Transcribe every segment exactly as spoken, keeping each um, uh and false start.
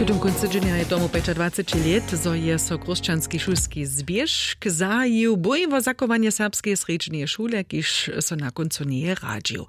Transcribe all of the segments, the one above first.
W tym kóncu dźenja je tomu pjećadwaceći lět, zo je so Chrósćanski šulski zběžk zahajił, bój wo zachowanje serbskeje srjedźneje šule, kiž so na kóncu njeje radźił.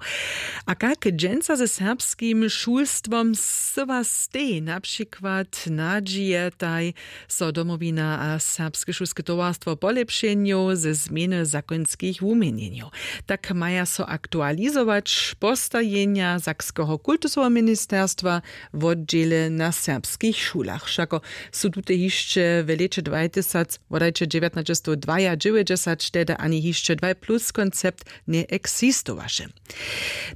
A kak dźensa ze serbskim šulstwom syła stej? Na přikład nadźijetaj so Domowina a Serbske šulske towarstwo polěpšenjow ze změny zakonskich wuměnjenjow. Tak maja so aktualizować postajenja Sakskeho kultusoweho ministerstwa wotdźěle na serbskich šulach. Wšako su tute hišće w lěće dwajtysac wodajće dźewjatnaćestowdwajadźewjećdźesat, tehdy ani hišće dwaj plus koncept njeeksistowaše.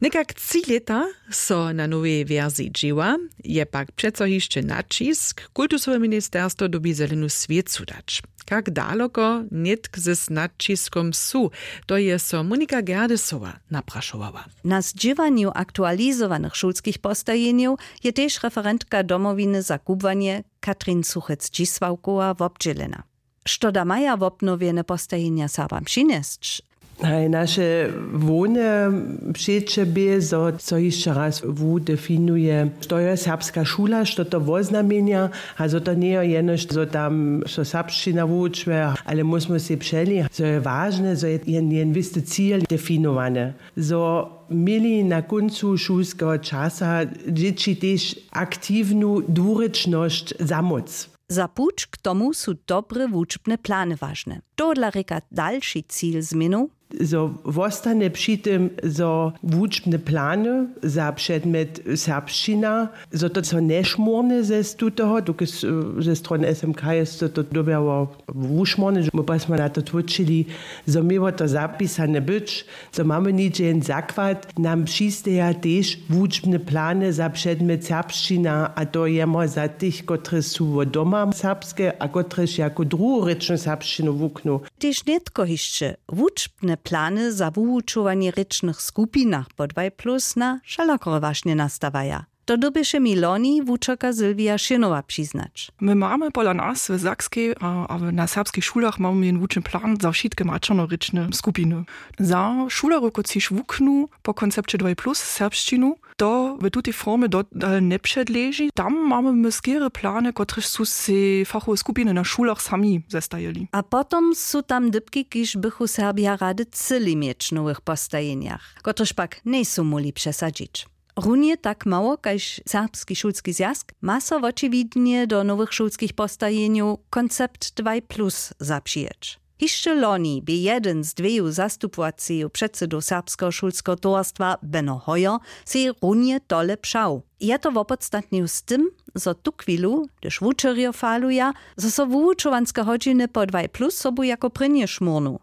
Někak tři lěta so na nowej wersiji dźěła, je pak přeco hišće naćisk, kultusowe ministerstwo dyrbi zelenu swěcu dać. Kak daloko nětk z naćiskom su, to je so Monika Gerdesowa naprašowała. Na zdźěłanju aktualizowanych šulskich postajenjow je tež referentka Domowiny za kubłanje Katrin Suchec-Dźisławkowa wobdźělena. Što da maja wobnowjene postajenja Serbam přinjesć? Haj, naše hłowne přeće bě, zo so hišće raz wudefinuje, što je serbska šula, što to woznamjenja, a zo to njeje jenož zo tam so serbšćina wučuje, ale móžmy sej přeli, zo je wažne, zo je jen, jen wěsty cil definowany, zo měli na kóncu šulskeho časa dźěći tež aktiwnu dwurěčnosć za móc. Za puć k tomu su dobre wučbne plany wažne. Tohodla rěka dalši cil změnow, zo wostanje při tym, zo wučbne plany za předmjet serbšćina, zo to so nješmórnje ze tutoho, dokelž ze strony S M K je so to dyrbjało wušmórnje, my pa smy na to tłóčili, zo měło to zapisane być, zo mamy něhdźe jen zakład, nam přisteja tež wučbne plany za předmjet serbšćina, a to jemo za tych, kotrež su wot doma serbske a kotrež jako druhorěčnu serbšćinu wuknu. Tež nětko hišće wučbne plany za wuwučowanje w rěčnych skupinach po dwaj plus na wšelakore wašnje nastawaja. To dyrbješe mi loni wučerka Sylwia Šěnowa přiznać. My mamy pola nas w Sakskej a, a w- na serbskich šulach mamy jen wučny plan za wšitke maćernorěčne skupiny. Za šulerjow, kotřiž wuknu po koncepće dwaj plus serbšćinu, to w tutej formje dodal njepředleži. Tam mamy my skerje plany, kotrež su sej fachowe skupiny na šulach sami zestajili. A potom su tam dypki, kiž bychu Serbja rady chcyli měć w nowych postajenjach, kotrež pak njejsu móhli přesadźić. Runje tak mało kaž Serbski šulski zwjazk ma so wočiwidnje do nowych šulskich postajenjow koncept dwaj plus zapřijeć. Hišće loni bě jedyn z dweju zastupowaceju předsydow Serbskeho šulskeho towarstwa Beno Hoyer sej runje tole přał. Je to wopodstatnił z tym, zo tuchwilu, hdyž wučerjo faluja, zo so wuwučowanske hodźiny po dwaj plus sobu jako prěnje šmórnu,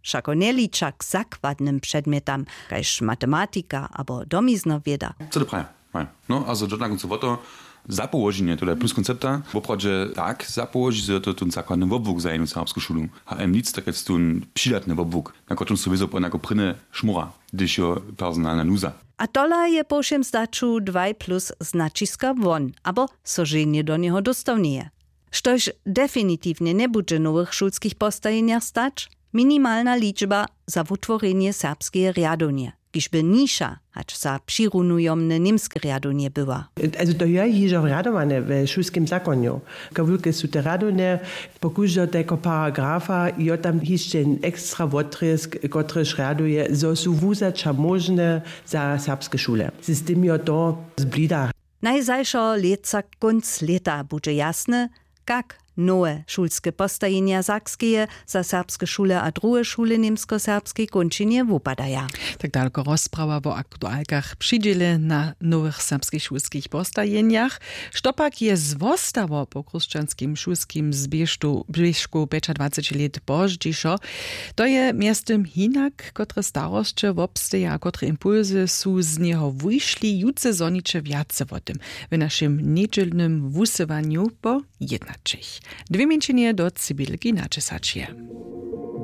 wšako njeliča k zakładnym předmjetam kaž matematika abo domizna wěda. Co to praja? Haj. No a zo to na kóncu wo to zapołoženje tola plus koncepta woprawdźe tak zapołoži, zo je to tón zakładny wobłuk za jednu serbsku šulu. H M nic, tak je tón přidatny wobłuk, na kotrymž so wězo pon jako prěnje šmóra, hdyž jo personalna nuza. A tola je po wšěm zdaću dwaj plus z naćiska won abo so ženje do njeho dóstawneje. Štož definitiwnje njebudźe w nowych šulskich postajenjach stać, minimalna ličba za wutworjenje serbskeje rjadownje, kiž by nižša hač za přirunujomne němske rjadownje była. Also to je hižo rjadowane we šulskim zakonju, kawulke su te rjadownje, po kóždeho tajkeho paragrafa jo tam hišće jen ekstra wotrězk, kotryž rjaduje, zo su wuzaća móžne za serbske šule. System jo to zblida. Najzašo lětsa kónc lěta budźe jasne, kak nowe šulske postajenja Sakskeje za serbske šule a druhe šule w němskoserbskej kónčinje wupadaja. Tak dalko rozprawa wo aktualkach při dźěle na nowych serbskich šulskich postajenjach. Što pak je zwostało po chrósćanskim šulskim zběžku pjećadwaceći lět pozdźišo? To je mjeztym hinak, kotre starosće wobsteja a kotre impulsy su z njeho wušli, jutře zhoniće wjace wo tym w našim njedźelnym wusyłanju po jednaćich. Dwě mjeńšinje do cibilki načesać je.